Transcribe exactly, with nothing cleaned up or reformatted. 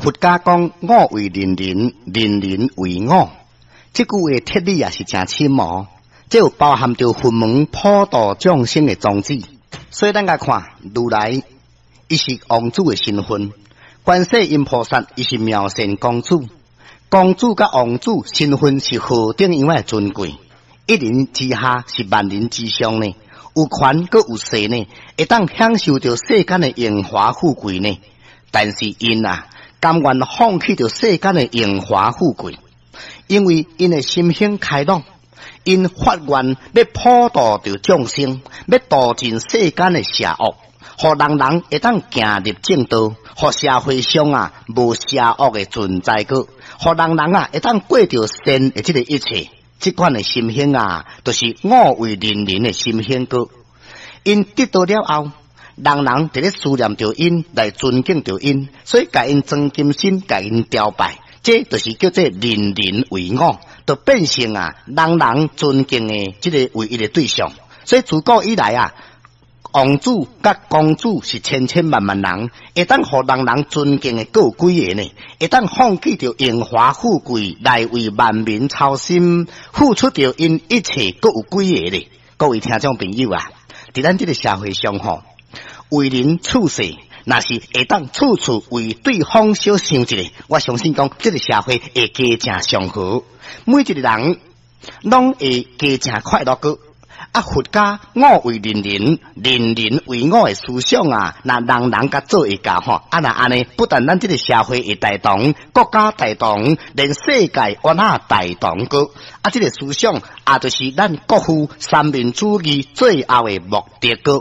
佛家講我為人人，人人為我，這句話哲理也是誠深哦。這有包含著佛門普度眾生的宗旨。所以咱來看如來，伊是王子的身份；觀世音菩薩，伊是妙善公主。公主佮王子身份是何等樣的尊貴？一人之下是萬人之上呢？有權閣有勢呢？會當享受著世間的榮華富貴呢？但是𪜶啊，甘願放棄著世間的榮華富貴，因為𪜶的心胸開朗，𪜶發願欲普度著眾生，欲度盡世間的邪惡，予人人會當行入正道，予社會上啊無邪惡的存在閣，予人人啊會當過著善的這個一切。這款的心胸啊，就是我為人人的心胸閣。𪜶得道了後，人人佇咧思念著𪜶，來尊敬著𪜶，所以共𪜶裝金身，共𪜶朝拜，這就是叫做人人為我，就變成啊人人尊敬的這个唯一的對象。所以自古以來啊，王子佮公主是千千萬萬人，會當予人人尊敬的，閣有幾个呢？會當放棄著榮華富貴來為萬民操心，付出著𪜶一切，閣有幾个呢？各位聽眾朋友啊，佇咱這个社會上吼，為人處世，若是會當處處為對方小想一下，我相信講這个社會會加誠祥和，每一个人攏會加誠快樂閣。啊！佛家我為人人，人人為我的思想啊，若人人共做會到吼，啊若按呢，不但咱這个社會會大同，國家大同，連世界嘛大同閣。啊，這个思想啊，就是咱國父三民主義最後的目的閣。